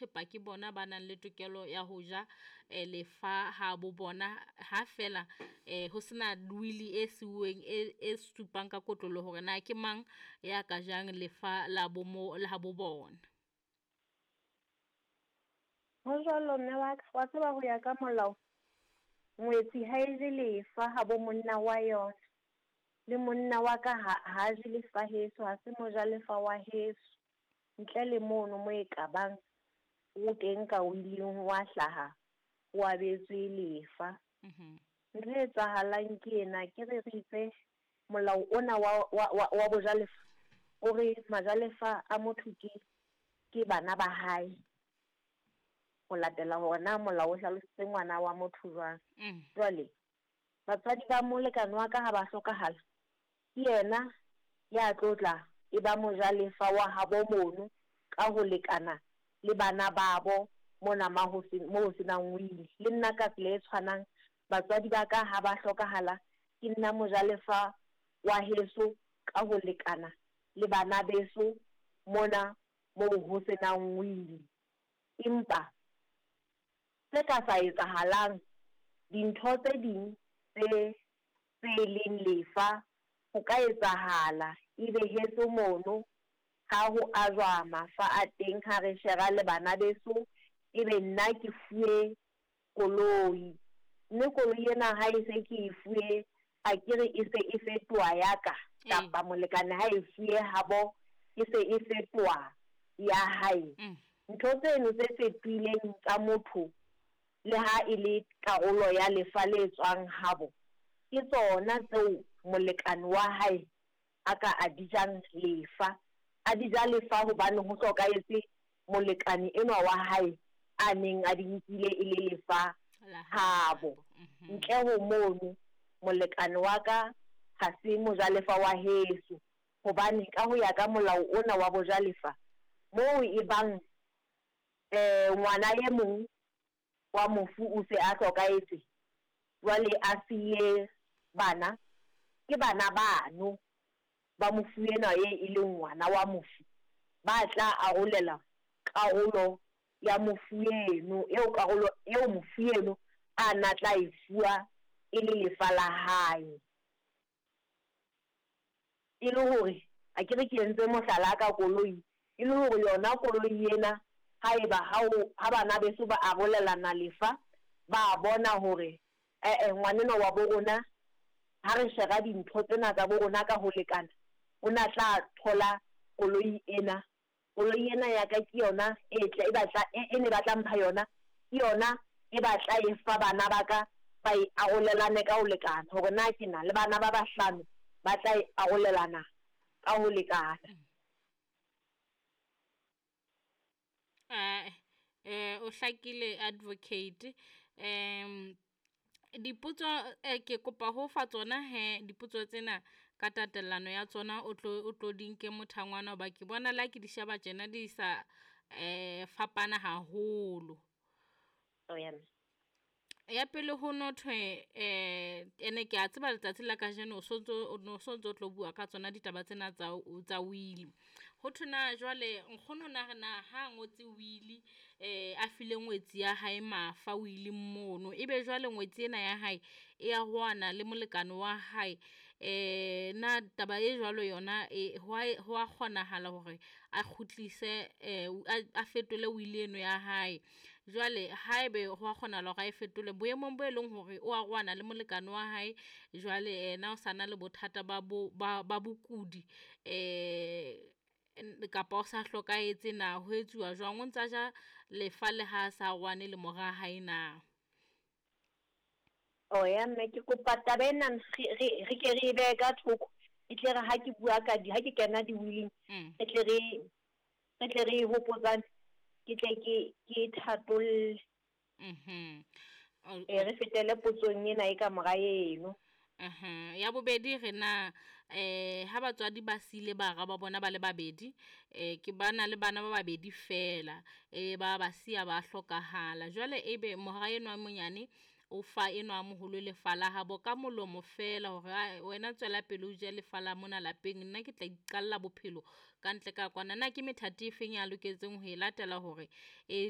thepa ke bona ba nang le tokelo ya ho ja lefa ha bo bona, ha fela ho sena wili e siuweng e supang ka kotloloho hore na ke mang ya ka jang lefa la bo mo la habo bona. Ho jwalo mme wa ka, wa tseba ho ya ka molao, ngwetsi ha e je lefa ha bo monna wa yona. Le monna wa ka ha ha je lefa heso, ha se mojalefa wa heso. Ntle le mono mo e ka bang o teng ka willing wa hlaha, o abetswe lefa. Ntho e etsahalang ke ena, ke re re itse molao ona wa bojalefa, o re majalefa a motho ke bana ba hae. Ho latela hore na molao o hlalositse ngwana wa motho jwang. Jwale, batswadi ba molekane wa ka ha ba hlokahala, ke yena ya tlo tla e ba mojalefa wa habo mono ka ho lekana le bana babo mona ma ho se, mo ho senang wili. Le nna ka tsela e tshwanang, batswadi ba ka ha ba hlokahala, ke nna mojalefa wa heso ka ho lekana le bana beso mona moo ho senang wili. Empa se ka sa etsahalang, dintho tse ding tse leng lefa, ho ka etsahala ebe heso mono ha ho ajwa mafa a teng ha re shera le bana beso, ebe nna ke fuwe koloi. Mme koloi ena ha e se ke e fuwe, a ke re e se e fetoha ya ka, kapa molekane ha e fuwe habo, e se e fetoha ya hae. Ntho tseno tse fetohileng tsa motho, le ha e le karolo ya lefa le tswang habo, ke tsona tseo molekane wa hae a ka a di jang lefa. A di ja lefa hobane ho hlokahetse molekane enwa wa hae a neng a di nkile e le lefa habo. Ntle ho mono, molekane wa ka ha se mojalefa wa heso, hobane ka ho ya ka molao ona wa bojalefa, moo e bang ngwana e mong wa mofu o se a hlokahetse, jwale a siye bana, ke bana bano ba mofu enwa e leng ngwana wa mofu, ba tla arolela karolo ya mofu eno, eo karolo eo mofu eno a na tla e fuwa e le lefa la hae. E le hore a ke re ke entse mohlala ka koloi, e le hore yona koloi ena haeba ha bana beso ba arolelana lefa, ba bona hore ngwanenwa wa bo rona ha re shera dintho tsena tsa bo rona ka ho lekana, o na tla thola koloi ena. Koloi ena ya ka ke yona e tla e batla e ne batla mpha yona, ke yona e batla e fa bana ba ka ba e arolelane ka ho lekana, hore na ke na le bana ba bahlano ba tla e arolelana ka ho lekana. O hlakile advocate. Dipotso ke kopa ho fa tsona he, dipotso tsena ka tatellano ya tsona o tlo di nke mothangwana, hoba ke bona le ha ke di sheba tjena di sa fapana haholo. Ya pele ho no thwe ene ke a tseba letsatsi la kajeno o sontso o no sontso o tlo bua ka tsona ditaba tsena tsa wili. Ho thwe na jwale nkgono na re na ha ngotse wili a file ngwetsi ya hae mafa wiling mono, ebe jwale ngwetsi ena ya hae e arohana le molekane wa hae, na taba e jwalo yona ho a kgonahala hore a kgutlise a fetole wili eno ya hae. Jwale haebe ho a kgonahala hore a e fetole boemong bo e leng hore o arohana le molekane wa hae, jwale yena o sa na le bothata ba bokudi kapa o sa hlokahetse na, ho etsuwa jwang? O ntsa ja lefa le ha sa arohane le mora hae na? O ya mme, ke kopa taba ena re ke re e behe ka thoko, e tle re ha ke bua ka di, ha ke kena di-willing, re tle re e hopotsane, ke tle ke thatolle. Re fetele potsong ena e ka mora eno. Ya bobedi re na ha batswadi ba siile bara ba bona ba le babedi, ke bana le bana ba babedi fela, ba siya ba hlokahala. Jwale ebe mora enwa a monyane o fa enwa a moholo lefa la habo ka molomo fela hore wena tswela pele o je lefa la mona lapeng, nna ke tla iqalla bophelo ka ntle ka kwana. Na ke methati e feng ya loketseng ho e latela hore e